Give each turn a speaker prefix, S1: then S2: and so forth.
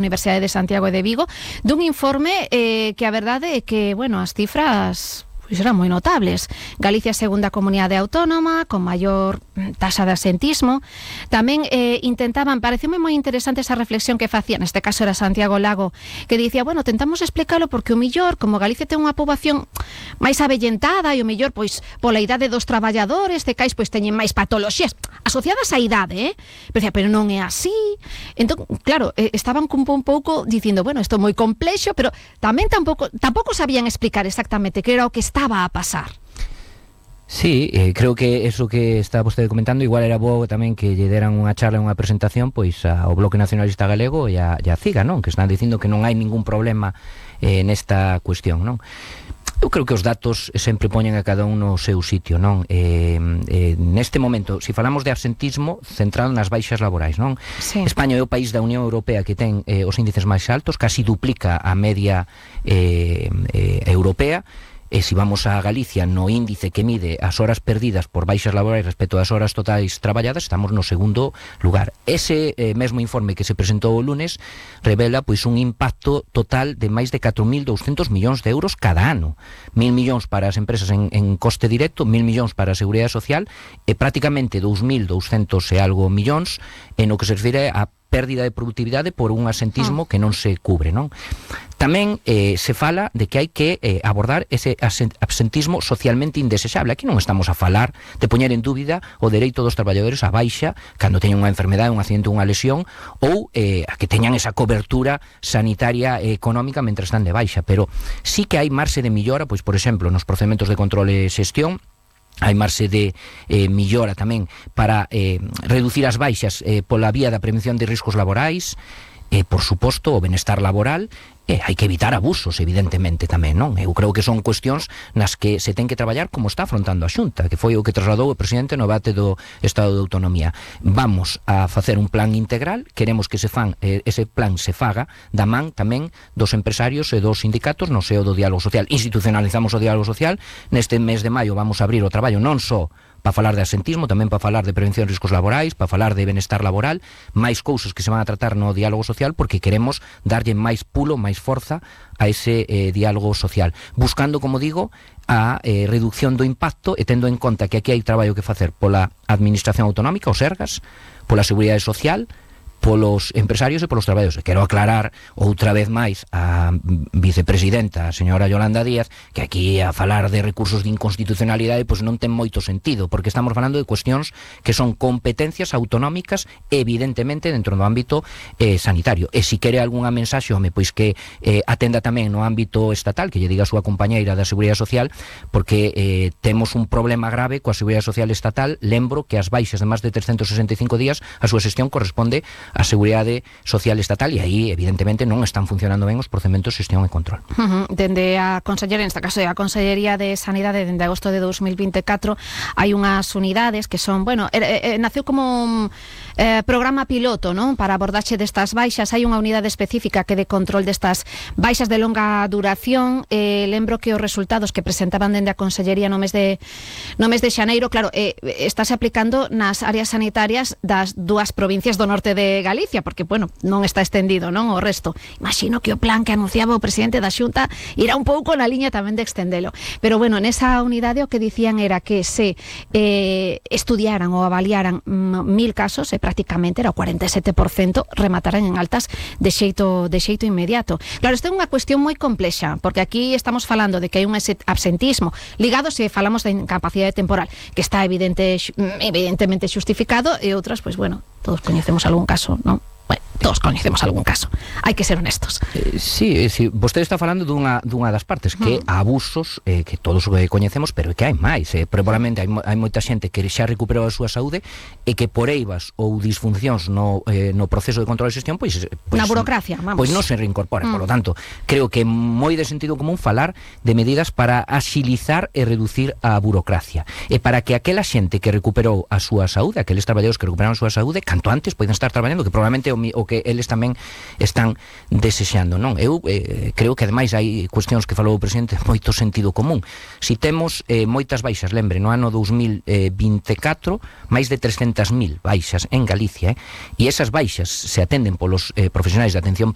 S1: Universidade de Santiago e de Vigo, dun informe que a verdade é que, bueno, as cifras eran moi notables. Galicia é a segunda comunidade autónoma con maior taxa de asentismo. Tamén intentaban, pareceume moi interesante esa reflexión que facía, neste caso era Santiago Lago, que dicía, bueno, tentamos explicalo porque o millor, como Galicia ten unha poboación máis avellentada e o millor, pois, pola idade dos traballadores, de cais, pois, teñen máis patoloxías asociadas á idade, pero non é así. Entón, claro, estaban un pouco dicindo, bueno, isto é moi complexo, pero tamén tampouco sabían explicar exactamente que era o que estaba a pasar.
S2: Sí, creo que eso que está vostede comentando igual era bo tamén que lle deran unha charla, unha presentación pois ao Bloque Nacionalista Galego e a CIGA, non? Que están dicindo que non hai ningún problema nesta cuestión, non? Eu creo que os datos sempre poñen a cada un no seu sitio, non? Neste momento, se falamos de absentismo centrado nas baixas laborais, non?
S1: Sí.
S2: España é o país da Unión Europea que ten os índices máis altos, casi duplica a media europea. E se vamos a Galicia no índice que mide as horas perdidas por baixas laborais respecto ás horas totais traballadas, estamos no segundo lugar. Ese mesmo informe que se presentou o lunes revela pois un impacto total de máis de 4.200 millóns de euros cada ano. 1.000 millóns para as empresas en coste directo, 1.000 millóns para a Seguridade Social e prácticamente 2.200 e algo millóns en o que se refire a pérdida de productividade por un asentismo que non se cubre, non? Tamén se fala de que hai que abordar ese absentismo socialmente indesexable. Aquí non estamos a falar de poñer en dúbida o dereito dos traballadores a baixa cando teñen unha enfermedade, un accidente, unha lesión, ou a que teñan esa cobertura sanitaria e económica mentre están de baixa, pero sí que hai marxe de millora, pois, por exemplo, nos procedementos de control e xestión. Hai marxe de millora tamén para reducir as baixas pola vía da prevención de riscos laborais, por suposto, o benestar laboral, hai que evitar abusos, evidentemente, tamén, non? Eu creo que son cuestións nas que se ten que traballar como está afrontando a Xunta, que foi o que trasladou o presidente no debate do Estado de Autonomía. Vamos a facer un plan integral, queremos que ese plan se faga da man tamén dos empresarios e dos sindicatos no seo do diálogo social. Institucionalizamos o diálogo social, neste mes de maio vamos a abrir o traballo non só para falar de asentismo, tamén para falar de prevención de riscos laborais, para falar de benestar laboral, máis cousas que se van a tratar no diálogo social, porque queremos darlle máis pulo, máis forza a ese diálogo social, buscando, como digo, a reducción do impacto e tendo en conta que aquí hai traballo que facer pola Administración Autonómica, o Sergas, pola Seguridade Social, polos empresarios e polos traballadores. Quero aclarar outra vez máis a vicepresidenta, a señora Yolanda Díaz, que aquí a falar de recursos de inconstitucionalidade pois non ten moito sentido, porque estamos falando de cuestións que son competencias autonómicas evidentemente dentro do ámbito sanitario. E se quere algunha mensaxe, home, pois que atenda tamén no ámbito estatal, que lle diga a súa compañeira da Seguridade Social, porque temos un problema grave coa Seguridade Social estatal. Lembro que as baixas de máis de 365 días a súa xestión corresponde a Seguridade Social estatal e aí, evidentemente, non están funcionando ben os procedementos de xestión e control.
S1: Dende a Consellería, neste caso a Consellería de Sanidade, dende agosto de 2024, hai unhas unidades que son, bueno, naceu como un programa piloto, non? Para abordaxe destas baixas. Hai unha unidade específica que de control destas baixas de longa duración. Lembro que os resultados que presentaban dende a Consellería no mes de xaneiro, claro, estáse aplicando nas áreas sanitarias das dúas provincias do norte de Galicia, porque, bueno, non está estendido, non, o resto. Imagino que o plan que anunciaba o presidente da Xunta irá un pouco na liña tamén de extendelo. Pero, bueno, nesa unidade o que dicían era que se estudiaran ou avaliaran 1000 casos, e prácticamente era o 47%, remataran en altas de xeito inmediato. Claro, isto é unha cuestión moi complexa, porque aquí estamos falando de que hai un absentismo ligado, se falamos de incapacidade temporal, que está evidentemente xustificado, e outras, pois, bueno, todos coñecemos algún caso, non? Bueno, todos coñecemos algún caso. Hai que ser honestos.
S2: Sí, vostede está falando dunha das partes, que abusos que todos coñecemos, pero que hai máis. Probablemente hai moita xente que xa recuperou a súa saúde e que por eivas ou disfuncións no proceso de control e xestión, pois
S1: na burocracia, vamos.
S2: Pois non se reincorpora. Por lo tanto, creo que é moi de sentido común falar de medidas para axilizar e reducir a burocracia. E para que aquela xente que recuperou a súa saúde, aqueles traballadores que recuperaron a súa saúde, canto antes poden estar traballando, que probablemente o que eles tamén están desexando, non? Eu creo que ademais hai cuestións que falou o presidente moito sentido común. Si temos moitas baixas, lembre, no ano 2024 máis de 300.000 baixas en Galicia, e esas baixas se atenden polos profesionais de atención